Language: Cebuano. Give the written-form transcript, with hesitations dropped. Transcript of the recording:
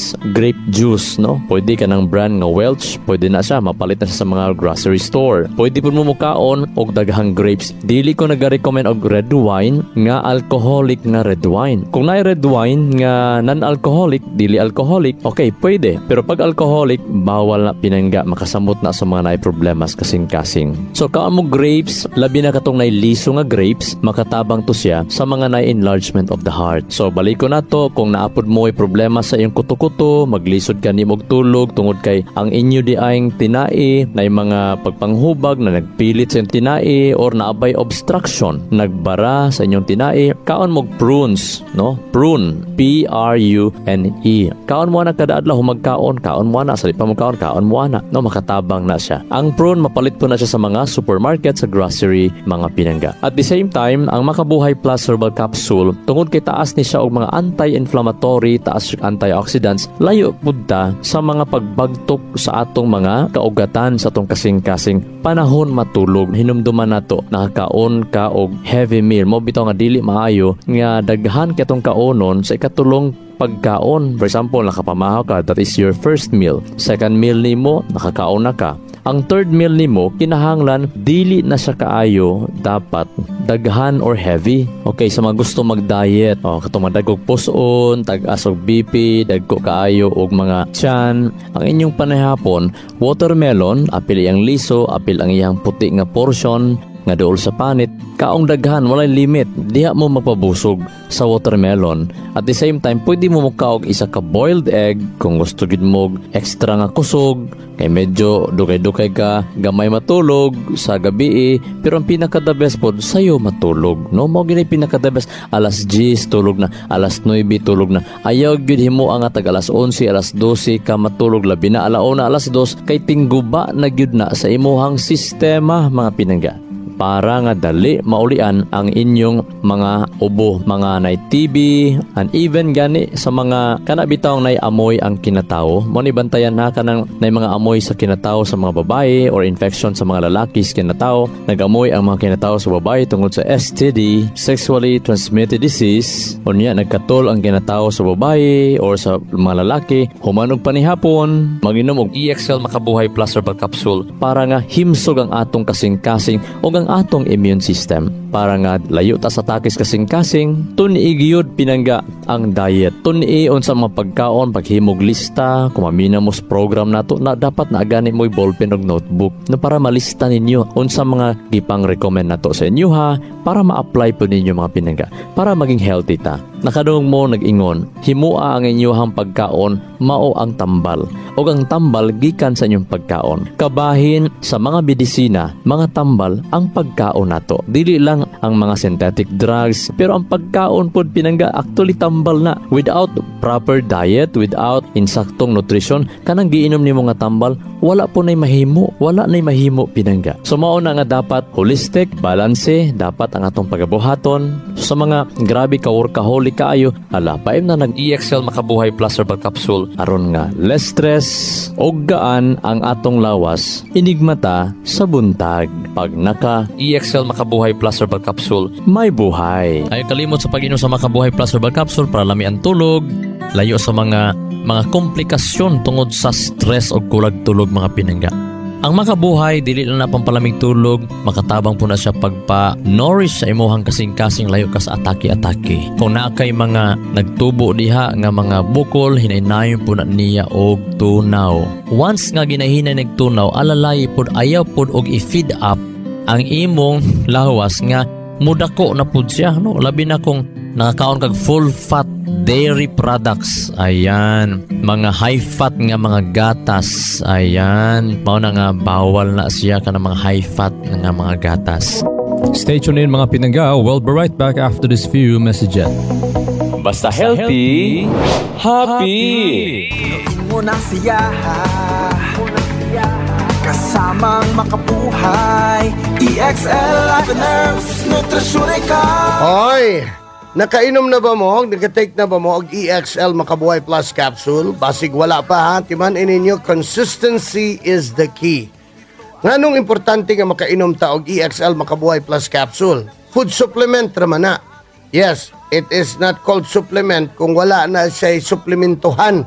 is grape juice, no? Pwede ka ng brand nga Welch, pwede na siya, mapalit na siya sa mga grocery store. Pwede po mo mukaon og daghang grapes. Dili ko nag-recommend og red wine nga alcoholic nga red wine. Kung naay red wine nga non-alcoholic, dili alcoholic, okay, pwede. Pero pag alcoholic, bawal na, pinangga, makasamot na sa mga naay problemas kasing-kasing. So kaon mo grapes, labi na katong naay liso nga grapes, makatabang to siya sa mga naay enlargement of the heart. So balik ko na to, kung naapod mo ay problema sa iyong kuto-kuto, maglisod ka nimo og tulog tungod kay ang inyo di ayng tinai na mga pagpanghubag na nagpilit sa iyong tinai or naabay obstruction, nagbara sa inyong tinai, kaon mo prunes, no? Prune, P R U N E. Kaon mo na kada adlaw, magkaon, kaon mo na sa pa mo kaon, kaon mo na, no? Makatabang na siya. Ang prune, mapalit po na siya sa mga supermarket, sa grocery, mga pinangga. At the same time, ang Makabuhay Plus Herbal Capsule, tungod kay taas ni siya og mga anti-inflammatory, taas siya antioxidants, layo pud ta sa mga pagbagtok sa atong mga kaugatan sa atong kasing-kasing panahon matulog. Hinumduman nato, nakakaon ka og heavy meal mo bitaw nga dili maayo nga daghan kay atong kaonon sa ikatulong pagkaon. For example, nakapamahaw ka, that is your first meal. Second meal nimo, nakakaon na ka. Ang third meal nimo, kinahanglan dili na siya kaayo dapat daghan or heavy. Okay, sa mga gusto mag-diet, oh, katong madagog puson, tag-as og BP, dagko kaayo og mga tiyan, ang inyong panahapon, watermelon, apil iyang liso, apil ang iyang puti nga portion, nga duol sa panit, kaong daghan, walay limit, diha mo magpabusog sa watermelon. At the same time, pwede mo mukaog isa ka boiled egg kung gusto gid mo extra nga kusog, kay medyo dugay-dugay ka gamay matulog sa gabi, pero ang pinaka the best pod sayo matulog, no? Mao gid pinaka the best, alas 10 tulog na, alas 9 tulog na. Ayaw gyud himo ang tag alas 11, alas 12 ka matulog, labi na alauna, alas 2, kay tingguba na gyud na sa imuhang sistema, mga pinangga, para nga dali maulian ang inyong mga ubo, mga nay TB, and even gani sa mga kana bitaw nay amoy ang kinatao. Mo ni bantayan ha, kanang nay mga amoy sa kinatao sa mga babae or infection sa mga lalaki sa kinatao. Nagamoy ang mga kinatao sa babae tungod sa STD, sexually transmitted disease. Unya nagkatol ang kinatao sa babae or sa mga lalaki, human og panihapon, maginom og EXL Makabuhay Plus Herbal Capsule para nga himsog ang atong kasing-kasing ug ang atong immune system para nga layo ta sa takis kasing-kasing. Tun-i gyud, pinangga, ang diet. Tun-i unsa mga pagkaon, paghimog lista. Kung mamina mo sa program nato na, dapat na gani mo'y ballpen og notebook, no, para malista ninyo unsa mga gipang recommend nato sa inyo ha, para ma-apply po ninyo, mga pinangga, para maging healthy ta. Nakadungog mo nag-ingon, "Himua ang inyuhang pagkaon mao ang tambal ug ang tambal gikan sa inyong pagkaon." Kabahin sa mga medisina, mga tambal ang pagkaon nato, dili lang ang mga synthetic drugs, pero ang pagkaon pod, pinangga, actually tambal na. Without proper diet, without insaktong nutrition, kanang giinom nimo nga tambal, wala po nay mahimo, wala nay mahimo, pinangga. So mao na nga dapat holistic, balance dapat ang atong pagabuhaton. Sa mga grabe ka workaholic kaayo, ala, paim na nag EXL Makabuhay Plus Herbal Capsule aron nga less stress og gaan ang atong lawas inigmata sa buntag. Pag naka EXL Makabuhay Plus Herbal Capsule, may buhay. Ay kalimot sa pag-inom sa Makabuhay Plus Herbal Capsule para lami ang tulog, layo sa mga komplikasyon tungod sa stress o kulag tulog, mga pinangga. Ang Makabuhay, dili lang na pampalamig tulog, makatabang po na siya pagpa-nourish sa imuhang kasing-kasing, layo ka sa atake-atake. Kung naa kay mga nagtubo diha nga mga bukol, hinaynayon po na niya og tunaw. Once nga ginahinay nagtunaw, alalay pod, ayaw pod og i-feed up ang imong lawas nga mudako na pud siya, no? Labi na kung nakakaon kag full fat dairy products, ayan, mga high fat nga mga gatas, ayan, mao na nga bawal na siya kana mga high fat nga mga gatas. Stay tuned in, mga pinangga. We'll be right back after this few messages. Basta healthy, happy. Punuin mo ng siya kasamang makabuhay. EXL Life and Herbs. Nutrisyon ikaw. Hoy! Nakainom na ba mo? Naka-take na ba mo og EXL Makabuhay Plus Capsule? Basig wala pa ha. Timan ninyo, consistency is the key. Nganong importante nga makainom ta og EXL Makabuhay Plus Capsule? Food supplement raman na. Yes, it is not called supplement kung wala na siya suplementohan.